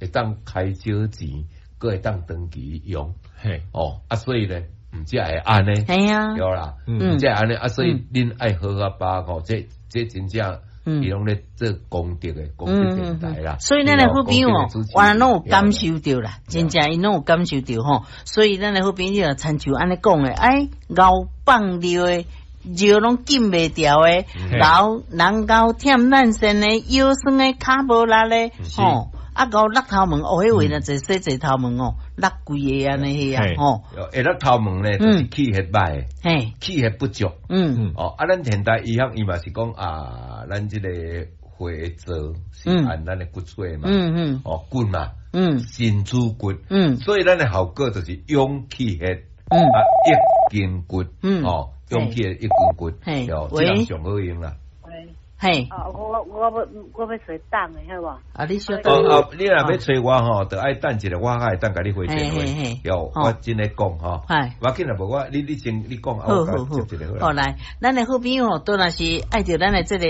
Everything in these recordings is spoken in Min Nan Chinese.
會當開少錢，閣會當長期用。哦，啊，所以咧，毋才會按呢，對啦，毋才會按呢，啊，所以恁愛好好把握，這真正伊攏咧做功德的功德電台啦。所以咱的好朋友哦，原來攏有感受著啦，真正𪜶攏有感受著吼。所以咱的好朋友親像按呢講的，哎，𠢕放尿的尿攏禁袂牢的，𠢕人𠢕忝咱身的，腰酸的，跤無力的，吼。啊，𠢕落頭毛，哦，彼位若濟洗濟頭毛哦，落規个按呢彼啊，吼。會落頭毛咧，就是氣血歹，氣血不足。哦，啊，咱現代醫學伊嘛是講啊，咱這個血液是按咱的骨髓嘛，哦，骨嘛，身主骨，所以咱的效果就是養氣血，啊，益筋骨，哦，養氣血益筋骨，哦，這樣上好用啦。嘿，啊，我欲揣等的，好無？啊，你小等。哦，你若欲揣我吼，就愛等一下，我才會當共你回電話。有，我真咧講吼。我緊啦，無我，你先你講，好好好。好來，咱的好朋友吼，當然是愛著咱的這個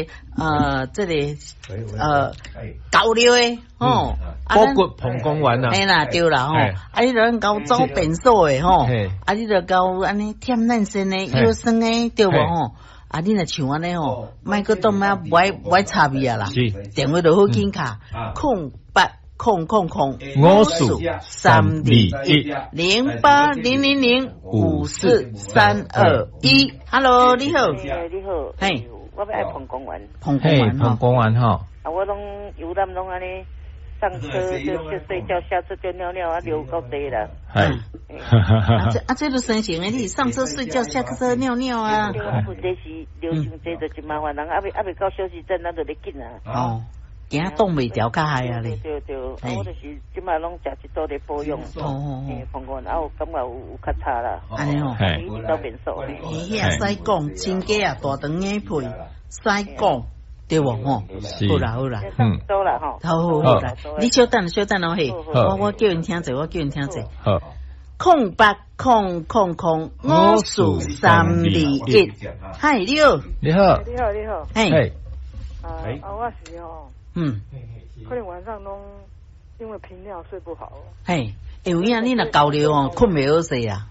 厚尿的吼。包括膀胱丸啊。嘿啦，對啦吼。啊，你著𠢕走便所的吼。啊，你著𠢕按呢忝咱身的腰酸的，對無吼？啊，你若像按呢吼，莫閣當仔無愛插伊啊啦，電話就好緊敲，0800 54321 0800054321。Hello，你好，你好，嘿，我欲愛膀胱丸，膀胱丸膀胱丸吼。啊，我攏游覽攏按呢，上車就睡覺，下車就尿尿啊，流夠濟啦。係，啊這就生成的，你上車睡覺，下車尿尿啊。對啊，問題是流傷濟就真麻煩，人猶未到休息站，咱就咧緊啊。哦，驚擋袂牢較害啊咧。對對，啊我就是這擺攏食一組咧保養。哦。膀胱啊有感覺有較差啦。按呢哦。一直到便所。彼會使講，親家啊，大腸硬屁，使講。對無吼？好啦好啦，好啦吼，好好好啦，你稍等稍等哦嘿，我叫𪜶聽者，我叫𪜶聽者。好，0800054321，嗨，你好，你好，你好，你好，嘿，啊，我是吼，可能晚上攏因為頻尿睡不好。嘿，有影你若厚尿哦，睏袂好勢啊。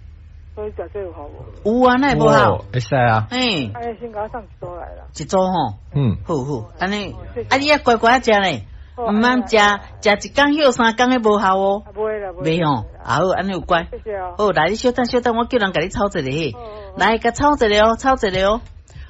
所以食這有效無？有啊，哪會無效？會使啊。嘿。哎，先共我送一組來啦。一組吼。好好，按呢，啊你愛乖乖食咧，毋通食食一工歇3工，彼無效哦。袂啦，袂吼，啊好，按呢有乖。謝謝哦。好，來你稍等稍等，我叫人共你抄一下嘿。來，共抄一下哦，抄一下哦。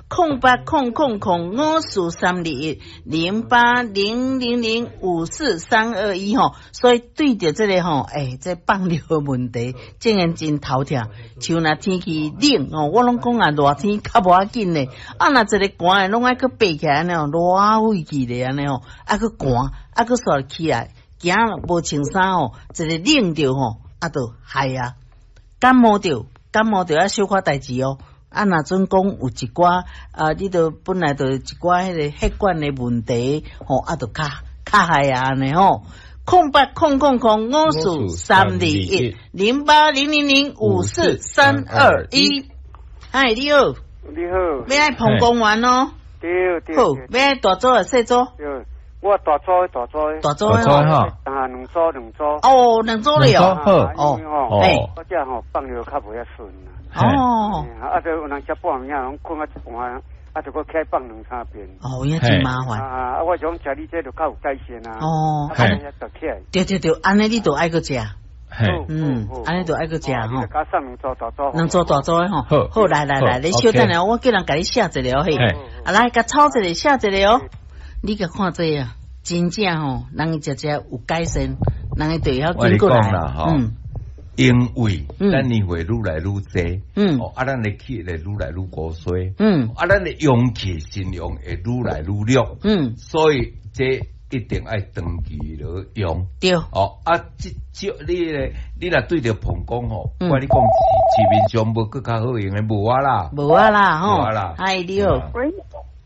08000543210800054321吼，所以對著這個吼，欸，這放尿的問題，竟然真頭痛。像若天氣冷吼，我攏講啊，熱天較無要緊咧，啊，若一个寒的，攏愛閣爬起來按呢吼，熱火氣咧按呢吼，啊閣寒，啊閣煞起來，驚無穿衫吼，一个冷著吼，啊就害啊，感冒著，感冒著愛小可代誌哦。啊，若準講有一寡啊，你著本來就一寡彼个血管的問題，吼，啊，就較較害啊按呢吼。08000543210800054321。嗨，你好，你好，欲愛膀胱丸哦。對對。好，欲愛大組抑細組？對，我大組大組。大組吼。啊，兩組兩組。哦，兩組咧哦。哦，哦，我這吼放尿較袂遐順啊。哦，啊，就有人食半暝啊，攏睏啊一半，啊，就閣起來放兩三遍。哦，有影真麻煩。啊，我想食你這就較有改善啊。哦，按呢起來。對對對，按呢你就愛閣食。按呢就愛閣食吼。佮送兩組大組。兩組大組的吼。好，來來來，你稍等下，我叫人共你寫一下嘿。啊，來，共抄一下，寫一下哦。你共看這啊，真正吼，人食食有改善，人會就會曉緊過來。因為咱年歲愈來愈濟，哦，啊，咱的氣會愈來愈枯衰，啊，咱的陽氣腎陽會愈來愈弱，所以這一定愛長期來用。對，哦，啊，這這你咧，你若對著膀胱吼，我共你講，市面上無閣較好用的無啊啦，無啊啦，吼，無啊啦，哎，你好，喂，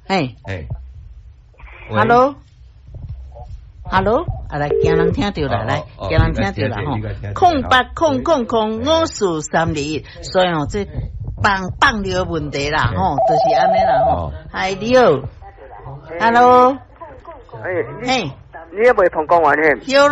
嘿，嘿，Hello。Hello，啊來，驚人聽著啦，來，驚人聽著啦吼，0800054321，所以吼，這放放尿問題啦，吼，就是按呢啦吼。嗨，你好，Hello，哎，你也袂膀胱丸嘿？有咯。